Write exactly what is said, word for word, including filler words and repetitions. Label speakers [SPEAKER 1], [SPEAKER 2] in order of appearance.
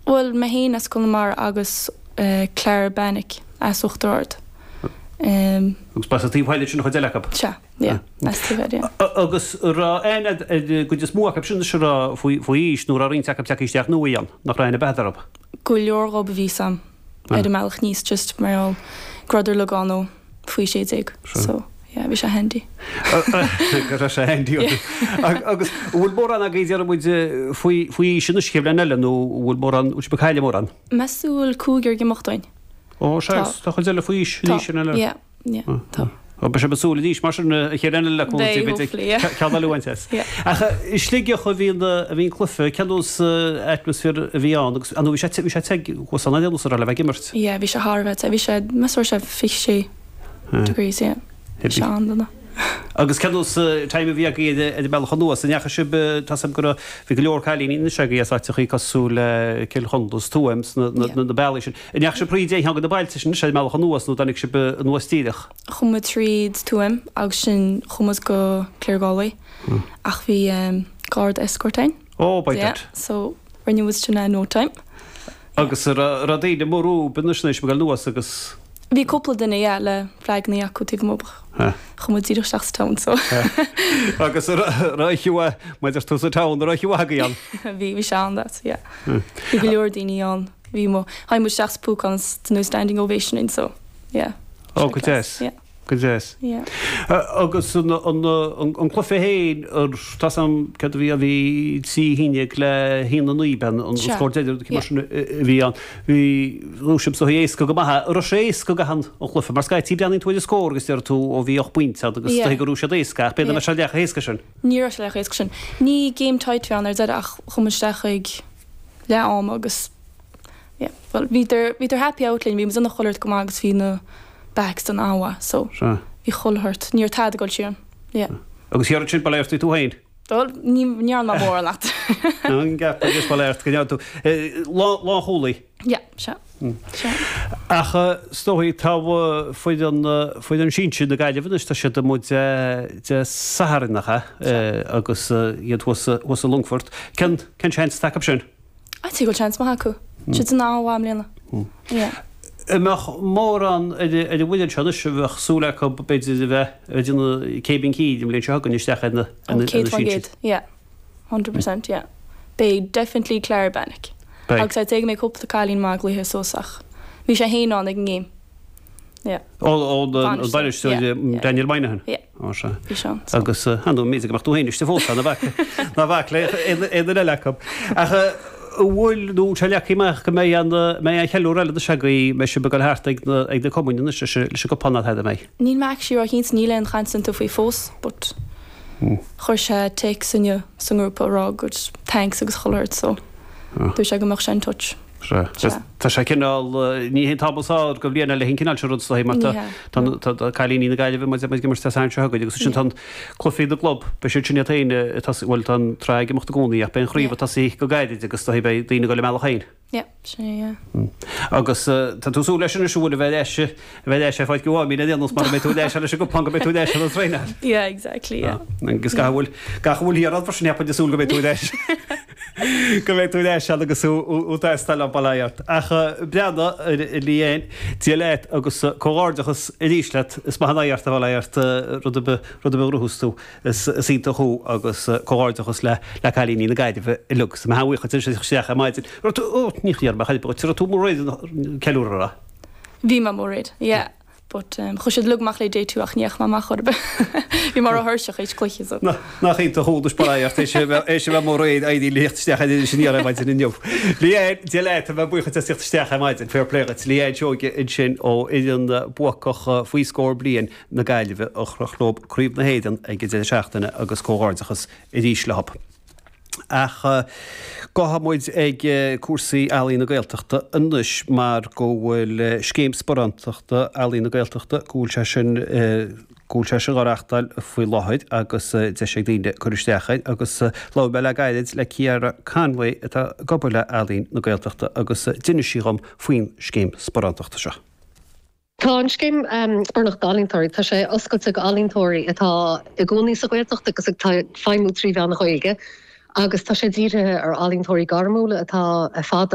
[SPEAKER 1] Well mé féin as Conamara agus uh, Clara Bannick as Uachtar Ard. Um,
[SPEAKER 2] Agus b'as an taobh thoir sin an chuid eile acu.
[SPEAKER 1] Sea, yeah, as taobh thoir, yeah.
[SPEAKER 2] Agus raibh aon gcuid is mó acu sin is raibh faoi faoi aois nó raibh roinnt acu tagtha isteach nua ann, nach raibh aon bheatha orthu.
[SPEAKER 1] Go leor dhóibh a bhí sam ar an mbealach aníos just mar gheall go rabhadar uilig ann ó faoi sé déag. So yeah, bhí sé handy.
[SPEAKER 2] Go raibh sé handy. Agus bhfuil mórán agaibh deir muid faoi faoi aois anois chéad bhliain eile nó bhfuil mórán bhfuil sibh ag cailleadh mórán?
[SPEAKER 1] Meas tú bhfuil cúigear ag imeacht uainn.
[SPEAKER 2] Ó sé tá chuid eile faoi aois
[SPEAKER 1] Tá,
[SPEAKER 2] anois sin eile.
[SPEAKER 1] yeah, yeah, tá.
[SPEAKER 2] Ó beidh sibh ag súil arís mar sin an chéad bhliain eile
[SPEAKER 1] Beidh, hopefully, yeah.
[SPEAKER 2] ceann eile uaint as.
[SPEAKER 1] Yeah.
[SPEAKER 2] Ach i Sligeach a bhí a bhí an cluiche cén nós atmaisféar a bhí ann agus an bhí sé bhí sé te thuas ann an ar le bheith ag imirt.
[SPEAKER 1] Yeah, bhí sé thar a bheith te. Bhí sé meas tú sé fiche sé degrees, yeah. Bhí sé an-dona.
[SPEAKER 2] Agus cén nós time a bhí agaibh ar an mbealach anuas an ndeachaigh sibh tá a fhios agam go raibh bhí go leor cailíní anois agaibh as áiteachaí cosúil le Cill Chonla Tuaim na na na bealaí sin. An ndeachaigh sibh thríd aon cheann de na bailte sin ar an mbealach anuas nó tháinig sibh anuas díreach.
[SPEAKER 1] Chuaigh muid tríd Tuaim agus sin chuaigh muid go Claregalway ach bhí um, guard escort ann.
[SPEAKER 2] Ó by
[SPEAKER 1] Yeah, so rinne muid sin in no time.
[SPEAKER 2] Agus raibh daoine mórú b'in sin go anuas agus
[SPEAKER 1] Bhí cúpla duine yeah, le flagnaí acu taobh amuigh. Chuaigh muid díreach isteach sa town so.
[SPEAKER 2] agus raibh maidir tú sa town raibh agaibh ann.
[SPEAKER 1] Bhí bhí sé an-deas, yeah. Bhí go leor daoine ann. Bhí mo tháinig muid isteach sa Púcán no standing ovation in so yeah.
[SPEAKER 2] Ó go deas.
[SPEAKER 1] Yeah.
[SPEAKER 2] Go deas.
[SPEAKER 1] Yeah.
[SPEAKER 2] Agus an an cluiche féin tá sam cad a bhí a bhí trí haon le haon a naoi ben an
[SPEAKER 1] Sea.
[SPEAKER 2] scór deiridh mar sin a bhí an bhí sibh so éasca go maith raibh sé éasca go han an cluiche mar scaití breathnaíonn tú ar an scór agus deir tú ó bhí ocht bpointe agus
[SPEAKER 1] Yeah.
[SPEAKER 2] go raibh siad éasca ach b'fhéidir
[SPEAKER 1] Yeah.
[SPEAKER 2] sé leath éasca sin.
[SPEAKER 1] Ní raibh sé le éasca sin. Ní game tight bhí an ar deireadh ach chuaigh muid isteach ag leath am agus yeah, well bhí bhí happy out linn, bhí muid ina cholart go maith agus bhí na backs den an-mhaith, so
[SPEAKER 2] Sea.
[SPEAKER 1] bhí cholhart níor tad go siar. Yeah.
[SPEAKER 2] Agus thiar sin ba tú féin.
[SPEAKER 1] Well, ní ní an mór leat.
[SPEAKER 2] An gap agus ba go tú lá lá chúlaí.
[SPEAKER 1] Yeah, sea. Sea.
[SPEAKER 2] Ach is dóigh tá foireann foireann sinsir na Gaillimhe anois tá siad amuigh Dé Sathairn agus iad thuas thuas i Longfort. Cén cén seans atá acu sin?
[SPEAKER 1] A tí go seans maith acu. Siad san an-mhaith i mbliana. Yeah.
[SPEAKER 2] Mbeadh mórán ar ar an bhfuil seo anois bheadh súil acu b'fhéidir a bheith ar déanamh céibín cíd an bhliain seo chugainn isteach ar na
[SPEAKER 1] Oh,
[SPEAKER 2] na
[SPEAKER 1] céad faoin
[SPEAKER 2] sinsir.
[SPEAKER 1] gcéad. Yeah. Hundred percent, yeah. Beidh definitely Clara Bannick.
[SPEAKER 2] Beidh.
[SPEAKER 1] Agus I'd say go mbeidh cúpla cailín maith ag luiche suas ach. Bhí sé féin ann ag an game. Yeah.
[SPEAKER 2] Ó ó an
[SPEAKER 1] Bainisteoir,
[SPEAKER 2] bainisteoir
[SPEAKER 1] yeah, yeah.
[SPEAKER 2] Daniel Moynihan.
[SPEAKER 1] Yeah.
[SPEAKER 2] Ó sea.
[SPEAKER 1] Bhí sé ann. so.
[SPEAKER 2] Agus an mí go mbeadh tú féin istigh fós na bhac ná bhac le aon eile acu. Ach bhfuil nó se leacaí amach go mbeidh an mbeidh an cheiliúradh eile de go mbeidh sibh ag dul thart ag na ag na cumainn anois leis leis an gcupán atá mé.
[SPEAKER 1] Níl mé actually ró-chinnte níl aon chaint iontu faoi fós, but chuir sé text inniu sa ngrúpa a rá good thanks agus cholart so dúirt sé go mbeadh sé in touch.
[SPEAKER 2] Sea. Tá sé cineál ní hé tábal sá go bhliain le hin cineál rud le mar
[SPEAKER 1] Ní hea.
[SPEAKER 2] tá cailíní na Gaillimhe mu ag imirt san seo agus sin tá cluichí na gclub be siad sin féin bhfuil tá tráth imeacht gcónaí ach beidh an chraobh ag tosaí go gairid agus tá beidh daoine go le meallach féin.
[SPEAKER 1] Yeah, sin é, yeah.
[SPEAKER 2] Agus tá tú súil leis an siúil a bheith leis a bheith leis fáid go bhí déanús mar mé tú leis leis go pan go mbeidh tú leis an traenáil.
[SPEAKER 1] Yeah, exactly, yeah.
[SPEAKER 2] Agus gach bhfuil gach bhfuil hiar far sin nepa súil go mbeidh tú leis. Go mbeidh tú leis agus útáil an baláart. Ach breana líon Dia leat agus comhghairdeachas arís leat is maith an oidhreacht a bhaláart rud a rud a ruthús tú is is iontach thú agus comhghairdeachas le le cailíní na Gaillimhe uilig sa mhaith chuid isteach ar maidin. Rud ó ní chiar me chaid tú mór ceiliúradh ra.
[SPEAKER 1] Bhí mé mór réidh, yeah. But um, chuaigh siad uilig amach le day two ach níoch má amach orb. Bhí mar a thuirseach éis cluiche so.
[SPEAKER 2] Nach iontach thú dus baláart é sé é sé mór réidh aidí líocht isteach sin ar maidin inniu. Leanne Dia leat a bhuíochas as teacht isteach ar maidin fair play duit Leanne Seoige ansin ó fhoireann buacach faoi scór bliain na Gaillimhe a chroch leo Craobh na hÉireann ag an deireadh seachtaine agus comhghairdeachas arís leo. Ach gabhfaidh muid ag cúrsaí Ealaín na Gaeltachta anois mar go bhfuil scéim sparántachta Ealaín na Gaeltachta go bhfuil sé sin go bhfuil sé sin á reáchtáil faoi láthair agus deis ag daoine cur isteach air agus labhair mé le gairid le Ciara Conway atá ag obair le Ealaín na Gaeltachta agus d'inis sí dhom faoin scéim sparántachta seo.
[SPEAKER 3] Tá an scéim um, Sparánacht d'Ealaíontóirí, tá sé oscailte go ealaíontóirí atá i gcónaí sa Ghaeltacht agus ag feidhmiú trí mheán na Gaeilge, agus tá sé dírithe ar ealaíontóirí gairmiúla atá fada